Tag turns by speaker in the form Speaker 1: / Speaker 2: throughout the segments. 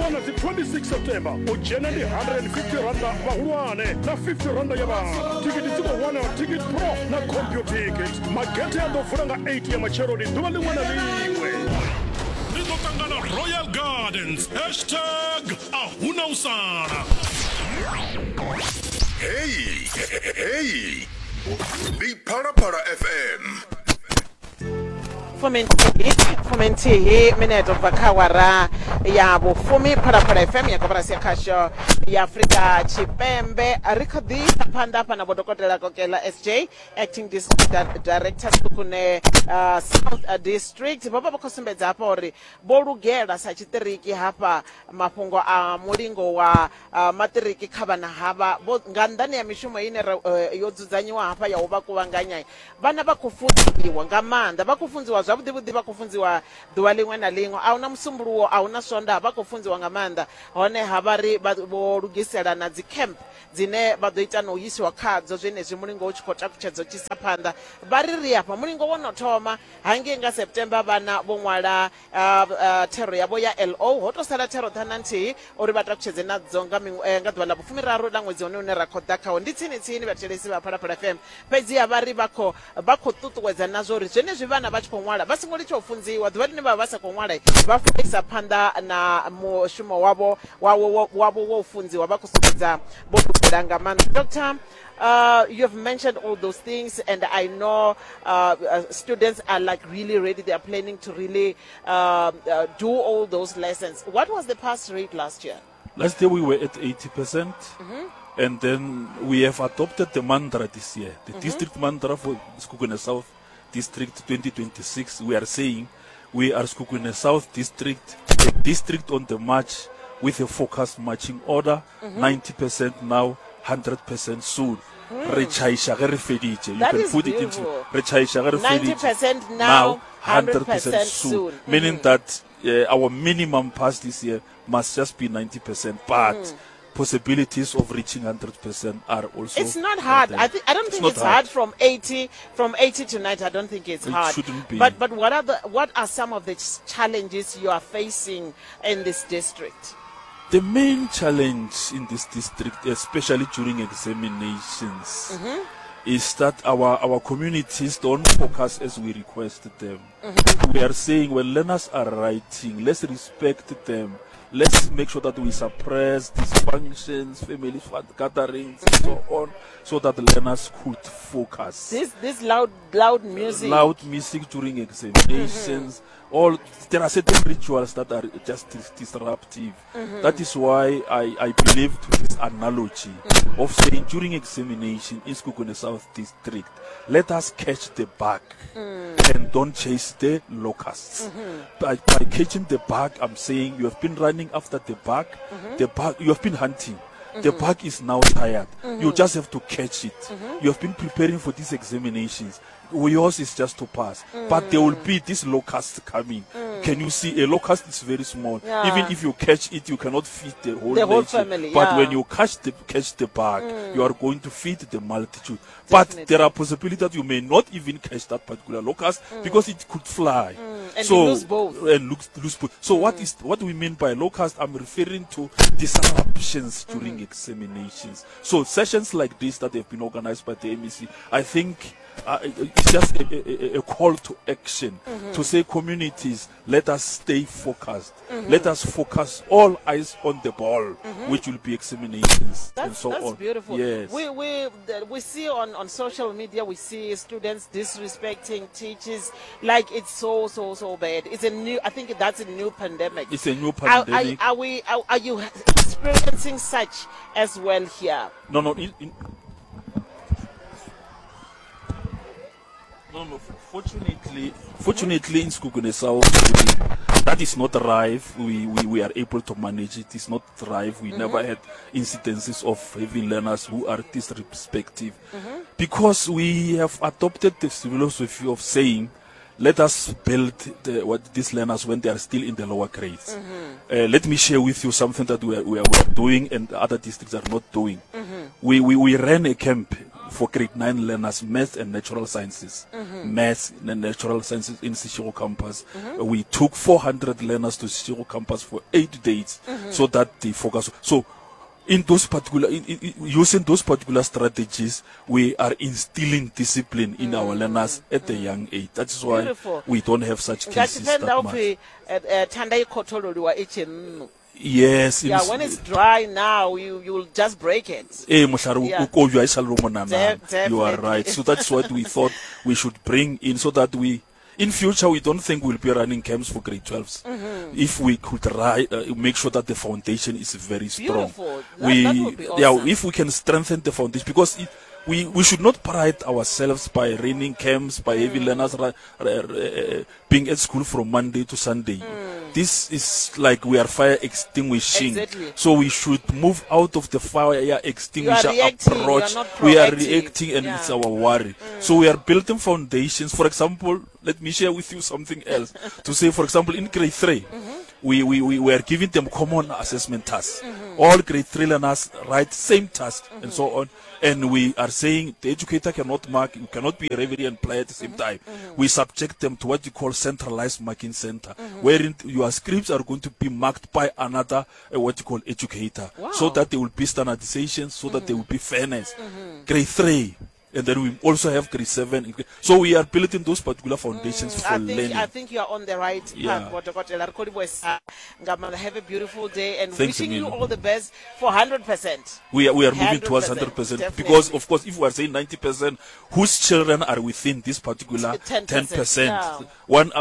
Speaker 1: thoma nga dzi 26 September. U dzhena ndi 150 randa vhahulwane na 50 randa ya vhana. Thikhithi dzi khou wanala Ticket Pro na Computicket. Magethe a ḓo vula nga 8 ya matsheloni ḓuvha ḽiṅwe na ḽiṅwe. Ri ḓo ṱangana Royal Gardens. Hashtag a huna u sala.
Speaker 2: Heyi heyi ndi Phalaphala FM.
Speaker 3: Fuminthihi fuminthihi minete ubva kha awara ya vhufumi Phalaphala FM ya koporasi ya khasho ya Afrika Tshipembe. Ri kha ḓi isa phanḓa hafha na Vho Dokotela Kokela SJ, Acting District Director Sekhukhune South District. Vho vha vha khou sumbedza hafha uri vho lugela sa tshiṱiriki hafha mafhungo a mulingo wa maṱiriki kha vhana havha. Vho nga nnḓani ya mishumo ine ra, yo dzudzanyiwa hafha ya u vha kuvhanganya, vhana vha khou funziwa nga maanḓa, vha khou funziwa zwavhuḓi vhuḓi, vha khou funziwa ḓuvha ḽiṅwe na ḽiṅwe, a huna Musumbuluwo, a huna Swondaha, vha khou funziwa nga maanḓa. Honeha vha ri vha vho lugisela na dzi camp dzine vha ḓo ita na u isiwa khadzo zwenezwi mulingo u tshi khou takutshedza u tshi isa phanḓa. Vha ri ri afha mulingo wo no thoma hangei nga September vhana vho ṅwala thero yavho ya LO, ho tou sala thero ṱhanu na nthihi uri vha takutshedze nadzo nga nga ḓuvha ḽa vhufumiraru ḽa ṅwedzi hone une ra khou ḓa khawo. Ndi tsini tsini vhathetshelesi vha Phalaphala FM, fhedziha vha ri vha khou vha khou ṱuṱuwedza na zwa uri zwenezwi vhana vha tshi khou ṅwala vha songo litsha u funziwa. Ḓuvha ḽine vha vha vha sa khou ṅwala vha fanela u isa phanḓa na mushumo wavho wavho wavho wa u funziwa, vha khou sumbedza vho lugela nga maanḓa. Doctor, you have mentioned all those things, and I know students are like really ready. They are planning to really do all those lessons. What was the pass rate last year?
Speaker 4: Last year we were at 80%, and then we have adopted the mantra this year, the district mantra for Sekhukhune South District 2026. We are saying we are Sekhukhune South District, a district on the march with a focused marching order, 90% now, 100% soon. Re tšhaiša ge re feditše. You
Speaker 3: That
Speaker 4: can
Speaker 3: is
Speaker 4: put it into
Speaker 3: beautiful.
Speaker 4: re tšhaiša ge re feditše.
Speaker 3: 90% now,
Speaker 4: 100%
Speaker 3: 100%
Speaker 4: soon.
Speaker 3: soon.
Speaker 4: Meaning that our minimum pass this year must just be 90%, but possibilities of reaching 100% are also
Speaker 3: It's not hard.
Speaker 4: there.
Speaker 3: I think I don't
Speaker 4: It's
Speaker 3: think
Speaker 4: not
Speaker 3: it's hard from 80 to 90. I don't think it's
Speaker 4: It
Speaker 3: hard.
Speaker 4: shouldn't be.
Speaker 3: But what are some of the challenges you are facing in this district?
Speaker 4: The main challenge in this district, especially during examinations, is that our communities don't focus as we request them. We are saying when learners are writing, let's respect them. Let's make sure that we suppress dysfunctions, family gatherings, and so on, so that the learners could focus.
Speaker 3: This loud music.
Speaker 4: Loud music during examinations. All there are certain rituals that are just disruptive. That is why I believe to this analogy of saying during examination in Sekhukhune South District, let us catch the bug and don't chase the locusts. By catching the bug, I'm saying you have been running after the bug, the bug you have been hunting. The bug is now tired. You just have to catch it. You have been preparing for these examinations. Yours is just to pass. But there will be this locust coming. Can you see? A locust is very small. Even if you catch it, you cannot feed the whole
Speaker 3: The whole
Speaker 4: nation.
Speaker 3: family,
Speaker 4: But when
Speaker 3: yeah.
Speaker 4: you catch the bug, you are going to feed the multitude. But there are possibilities that you may not even catch that particular locust because it could fly.
Speaker 3: And you lose both.
Speaker 4: And lose both. So what do we mean by locust? I'm referring to disruptions during examinations. So sessions like this that have been organized by the MEC, I think it's just a call to action to say communities, let us stay focused. Let us focus all eyes on the ball, which will be examinations and
Speaker 3: That's
Speaker 4: so on.
Speaker 3: beautiful.
Speaker 4: Yes.
Speaker 3: We see on social media, we see students disrespecting teachers. Like it's so, so, so bad. It's a new, I think that's a new pandemic.
Speaker 4: It's a new
Speaker 3: Are
Speaker 4: pandemic.
Speaker 3: you experiencing such as well here?
Speaker 4: No, no. No, no. Fortunately, in Sekhukhune South, that is not rife. We are able to manage it. It's not rife. We never had incidences of having learners who are disrespectful, because we have adopted the philosophy of saying, let us build these learners when they are still in the lower grades. Let me share with you something that we are doing and other districts are not doing. We ran a camp for grade 9 learners, math and natural sciences. Mm-hmm. Math and natural sciences in Seshego campus. Mm-hmm. We took 400 learners to Seshego campus for 8 days mm-hmm. so that they focus. So in those particular in, in, using those particular strategies we are instilling discipline in mm. our learners at mm. a young age that is why Beautiful. we don't have such cases that much. Eh,
Speaker 3: eh, thanda i khothololiwa i tshe nnu
Speaker 4: yes
Speaker 3: yeah when it's dry now you you'll just break it
Speaker 4: eh mohlare o kojwa e sa le monana you are right so that's what we thought we should bring in so that we in future we don't think we'll be running camps for grade 12s mm -hmm. if we could make sure that the foundation is very strong
Speaker 3: Beautiful. That, we that would be awesome.
Speaker 4: yeah if we can strengthen the foundation because it, we, we should not pride ourselves by running camps, by mm. having learners being at school from Monday to Sunday. Mm. This is like we are fire extinguishing.
Speaker 3: Exactly.
Speaker 4: So we should move out of the fire extinguisher approach. We are reacting and yeah. it's our worry. Mm. So we are building foundations. For example, let me share with you something else. to say, for example, in grade 3, mm-hmm. we, we, we, we are giving them common assessment tasks. Mm-hmm. All grade 3 learners write same task mm-hmm. and so on. And we are saying the educator cannot mark, you cannot be a referee and play at the same mm-hmm. time. Mm-hmm. We subject them to what you call centralized marking center, mm-hmm. wherein your scripts are going to be marked by another, what you call educator,
Speaker 3: wow.
Speaker 4: so that there will be standardization, so that there will be fairness. Grade 3. And then we also have grade 7. So we are building those particular foundations for learning.
Speaker 3: I think you are on the right path,
Speaker 4: Yeah.
Speaker 3: Dokotela. Re khou livhuwesa nga maanḓa. Have a beautiful day and
Speaker 4: Thanks,
Speaker 3: wishing you
Speaker 4: Emilio.
Speaker 3: all the best for 100%.
Speaker 4: We are, we are moving towards
Speaker 3: 100%,
Speaker 4: 100%
Speaker 3: definitely.
Speaker 4: because, of course, if we are saying 90%, whose children are within this particular
Speaker 3: 10%,
Speaker 4: 10%?
Speaker 3: yeah.
Speaker 4: One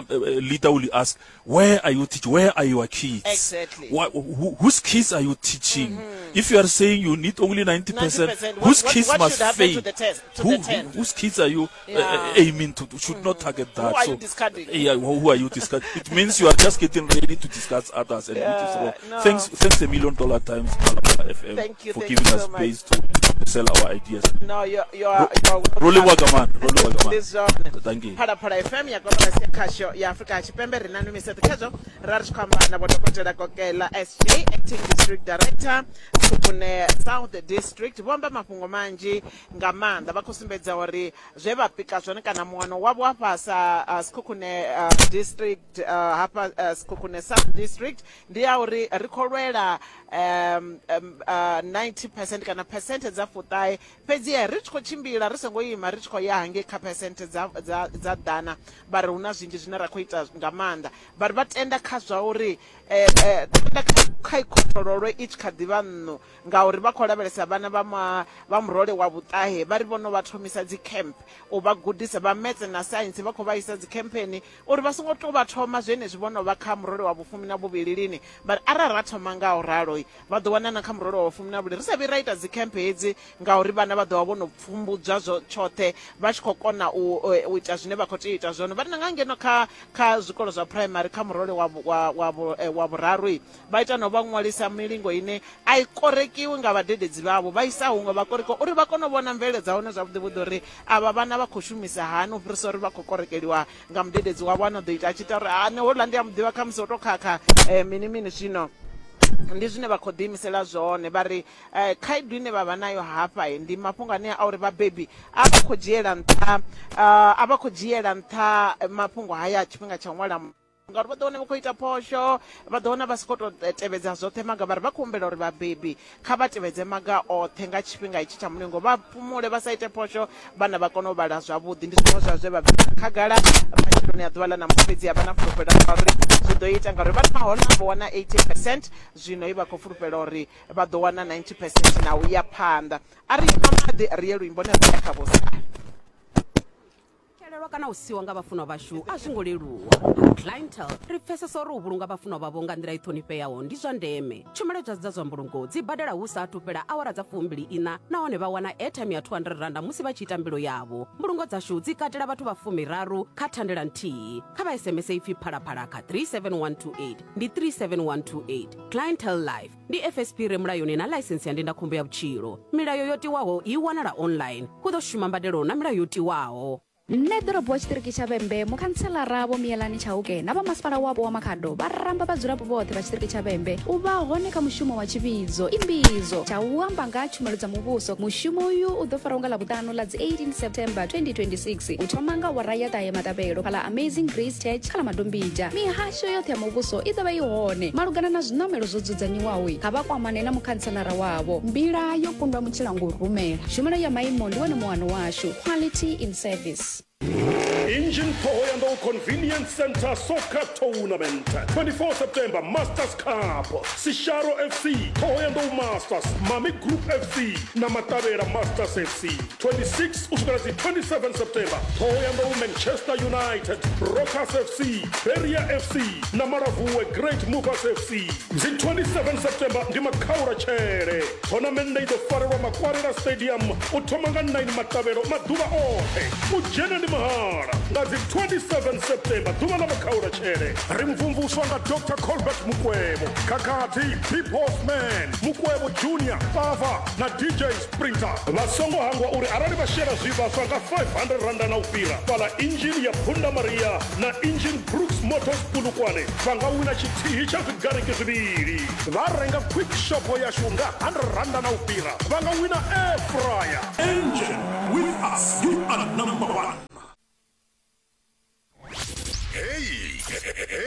Speaker 4: leader will ask, where are you teaching? Where are your kids?
Speaker 3: Exactly.
Speaker 4: Whose kids are you teaching? If you are saying you need only 90%,
Speaker 3: 90%,
Speaker 4: whose kids
Speaker 3: what
Speaker 4: must
Speaker 3: should happen
Speaker 4: fail?
Speaker 3: to the test, to the 10?
Speaker 4: Whose kids are you
Speaker 3: Yeah.
Speaker 4: aiming to? Should not target that.
Speaker 3: Who are
Speaker 4: So,
Speaker 3: you discarding?
Speaker 4: Yeah, who are you discarding? It means you are just getting ready to discuss others, and which is
Speaker 3: Yeah,
Speaker 4: wrong.
Speaker 3: no.
Speaker 4: Thanks a million dollar times, Phalaphala FM,
Speaker 3: Thank you,
Speaker 4: for
Speaker 3: thank
Speaker 4: giving
Speaker 3: you
Speaker 4: us
Speaker 3: so much.
Speaker 4: space to sell our ideas.
Speaker 3: No, you're welcome.
Speaker 4: Roli Wagaman, Roli Wagaman.
Speaker 3: This one.
Speaker 4: Thank you.
Speaker 3: Phalaphala FM ya koporasi ya khasho ya Afrika Tshipembe ri na numiseṱo khezwo ra ri tshi khou amba na vho Dokotela Kokela SJ acting district director Sekhukhune South District. Vho amba mafhungo manzhi nga maanḓa, vha khou sumbedza uri zwe vha pika zwone kana muwano wavho hafha sa Sekhukhune district hafha Sekhukhune South District ndi ya uri ri khou lwela 90% kana percent dza fuṱahe, fhedzi ri tshi khou tshimbila ri songo ima ri tshi khou ya hangei kha percent dza, dza, dza ḓana. Vha ri hu na zwinzhi zwine ra khou ita nga maanḓa, vha ri vha tenda kha zwa uri tenda kha ikhothololwe i tshi kha ḓivha nṋu, ngauri vha khou lavhelesa vhana vha vha murole wa vhuṱahe, vha ri vhono vha thomisa dzi camp u vha gudisa vha maths na science, vha khou vha isa dzi campeni uri vha songo tou vha thoma zwenezwi vhono vha kha murole wa vhufumi na vhuvhili lini. Vha ri arali ra thoma nga u ralo vha ḓo wana na kha murole wa vhufumi na vhuvhili ri sa vhi ra ita dzi camp hedzi, ngauri vhana vha ḓo vha vho no pfumbudzwa zwo tshoṱhe vha tshi khou kona u ita zwine vha khou tea u ita zwone. Vha ri na nga ngeno kha zwikolo zwa primary kha murole wa vhuraru vha ita no vha ṅwalisa milingo ine a i korekiwi nga vhadededzi vhavho, vha isa huṅwe vha korekiwa uri vha kone u vhona mvelele dza hone zwavhuḓi vhuḓi uri avha vhana vha khou shumisa hani, u fhirisa uri vha khou korekeliwa nga mudededzi wavho ano ḓo ita a tshi ita uri a ne houḽa ndi a muḓivha khamusi o to khakha mini mini. Zwino ndi zwine vha khou ḓiimisela zwone. Vha ri khaedu ine vha vha nayo hafha ndi mafhungo ane a uri vhabebi a vha khou dzhiela nṱha a vha khou dzhiela nṱha mafhungo haya tshifhinga tsha u ṅwala, ngauri vha ḓo wana vha khou ita phosho, vha ḓo wana vha si khou tou tevhedza zwoṱhe maga. Vha ri vha khou humbela uri vhabebi kha vha tevhedze maga oṱhe nga tshifhinga itshi tsha mulingo, vha fhumule vha sa ite phosho, vhana vha kone u vhala zwavhuḓi. Ndi zwiṅwe zwa zwe vha bvisa khagala matsheloni a ḓuvha ḽa ṋamusi, fhedzi a vha na fulufhelo ḽa uri zwi ḓo ita, ngauri vha ri maholo vho wana 80%, zwino i vha khou fulufhela uri vha ḓo wana 90% na u ya phanḓa. A ri ima maḓi ri ye luimboni ri ya kha vhosala.
Speaker 5: Xelelwa kana u siwa nga vhafunwa vhashu a zwi ngo leluwa. Clientele ri pfesesa uri u vhulunga vhafunwa vhavho nga nḓila i ṱhonifheaho ndi zwa ndeme. Tshumelo dza zwa mbulungo dzi badela hu sa athu fhela awara dza 24 nahone vha wana airtime ya 200 randa musi vha tshi ita mbilo yavho. Mbulungo dzashu dzi katela vhathu vha 30 kha thandela nthihi. Kha vha SMS ipfi phalaphala kha 37128 ndi 37128. Clientele Life ndi FSP re mulayoni na ḽaisensi ya ndindakhombo ya vhutshilo. Milayo yo tiwaho i wanala online. Hu ḓo shuma mbadelo na milayo yo tiwaho.
Speaker 6: Nṋe ḓorobo wa tshiṱiriki tsha Vhembe, mukhantselara Vho Miyelani Chauke na vha masipala wapo wa Makhado vha ramba vhadzulapo vhoṱhe vha tshiṱiriki tsha Vhembe u vha hone kha mushumo wa tshivhidzo Imbizo tsha u amba nga ha tshumelo dza muvhuso. Mushumo uyu u ḓo farwa nga Ḽavhuṱanu ḽa dzi 18 September 2026 u thoma nga awara ya ṱahe maṱavhelo fhaḽa Amazing Grace Church kha ḽa Madombidzha. Mihasho yoṱhe ya muvhuso i ḓo vha i hone. Malugana na zwiṋamelo zwo dzudzanyiwaho, kha vha kwamane na mukhantselara wavho. Mbila yo kundwa mutshila ngo rumela. Tshumelo ya maimo ndi wone muano washu. Quality in service.
Speaker 1: Engine Thohoyandou Convenience Centre Soccer Tournament 24 September Masters Cup Sisharo FC Thohoyandou Masters Mami Group FC na Matavhela Masters FC 26 u swikela dzi 27 September Thohoyandou Manchester United Rockers FC Beria FC na Malavuwe Great Movers FC dzi 27 September ndi makhaula tshele Thonamennde i ḓo farelwa Makwarela Stadium u thoma nga 9 maṱavhelo maḓuvha oṱhe. U dzhena ndi mahala. Nga dzi 27 September, ḓuvha ḽa makhaulatshele, ri mvumvuswa nga Dr Colbert Mukwevho, Khakhathi, Big Horseman, Mukwevho Junior, Pava na DJ Sprinter. Vha songo hangwa uri arali vha shela zwivhaswa nga R500 na u fhira fhaḽa inzhini ya Punda Maria na Engine Brooks Motors Polokwane vha nga wina tshithihi tsha zwigariki zwivhili. Vha renga quick shop yashu nga R100 na u fhira vha nga wina air fryer. Engine.